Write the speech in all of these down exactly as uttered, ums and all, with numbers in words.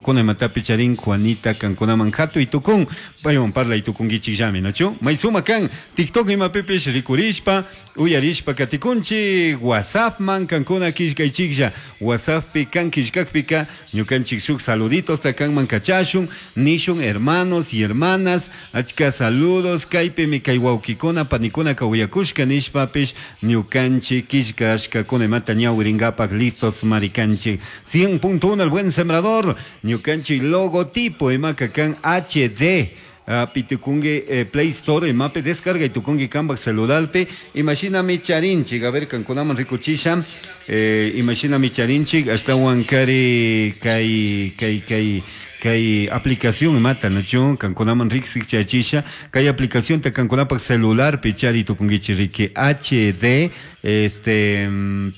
Tapukuna imatapi charin Juanita kankunaman hatuy tukun paywan parlay tukunkichikllami, nachu? May suma kan TikTok imapipish rikurishpa uyarishpa katikunchik WhatsAppman kankuna killkaychiklla WhatsApppi kan killkakpika ñukanchik shuk saluditos kanman kachashun nishun hermanos y hermanas achka saludos kaypimi kay wawkikuna panikunaka uyakushka nishpapish ñukanchik killkashkakuna imata ñawirinkapak listos marikanchik cien punto uno El Buen Sembrador ñukanchik logotipo imaka kan H D pitukunki eh, Play Store imapi descarga y tukunki kanpak celularpi imashinami charinchik a ver kankunaman rikuchisha eh, imashinami charinchik ashtawan kari kay kay kay kay aplicación imata nachu kankunaman riksik chayachisha kay aplicación ta kankunapak celularpi chari tukunkichik riki H D este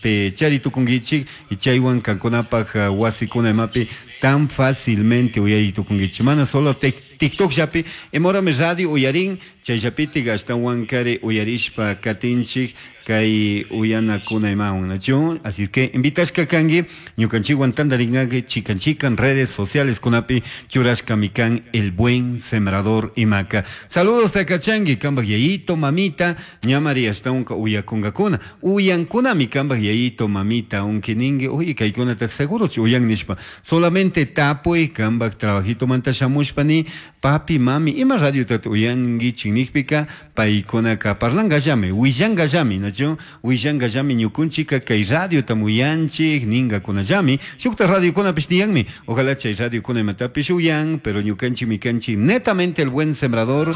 pe chari tukunkichik y chaywan kankunapak uh, wasikuna imapi tan fácilmente uyay tukunkichik mana solo TikTok llapi imorami radio uyarin chayllapitik ashtawan kari uyarishpa katinchik kay uyanakuna imawan nachu así que invitashka kanki ñukanchikwan tantarinkanki chikan chikan redes sociales kunapi churashkami kan El Buen Sembrador imaka saludos takachanki kanpak yayito mamita ñamari ashtawanka uyakunkakuna uyankunami kanpak yayito mamita aunque ninki uy kaykunata segurochu uyan nishpa solamente tapuy kanpak trabajito manta shamushpa ni papi mami ima radiotata uyankichik nikpika paykunaka parlankallami willankallami nachu willankallami ñukunchika kay radiota uyanchik ninkakunallami shukta radiokunapish tiyanmi ojalá chay radiokuna imatapish uyan pero ñukanchikmi kanchik netamente El Buen Sembrador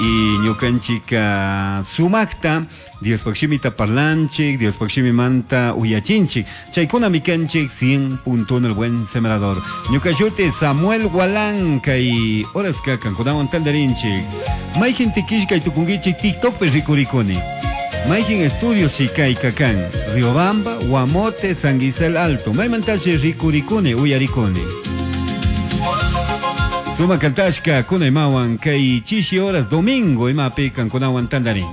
y ñukanchika sumakta Diospaq shimita parlanchik Diospaq shimimanta uyachinchik chaykunami kanchik cien punto uno El Buen Sembrador ñukashuti Samuel Gualán kay horaska kankunawan tantarinchik mayjin tikishkay tukunkichik TikTokpi rikurikuni mayjin estudios kayka kan Riobamba, Guamote, San Gisel Alto maymantashi rikurikuni uyarikuni Suma kantashka kuna imawan kay chishi horas domingo imapi kankunawan tantarin.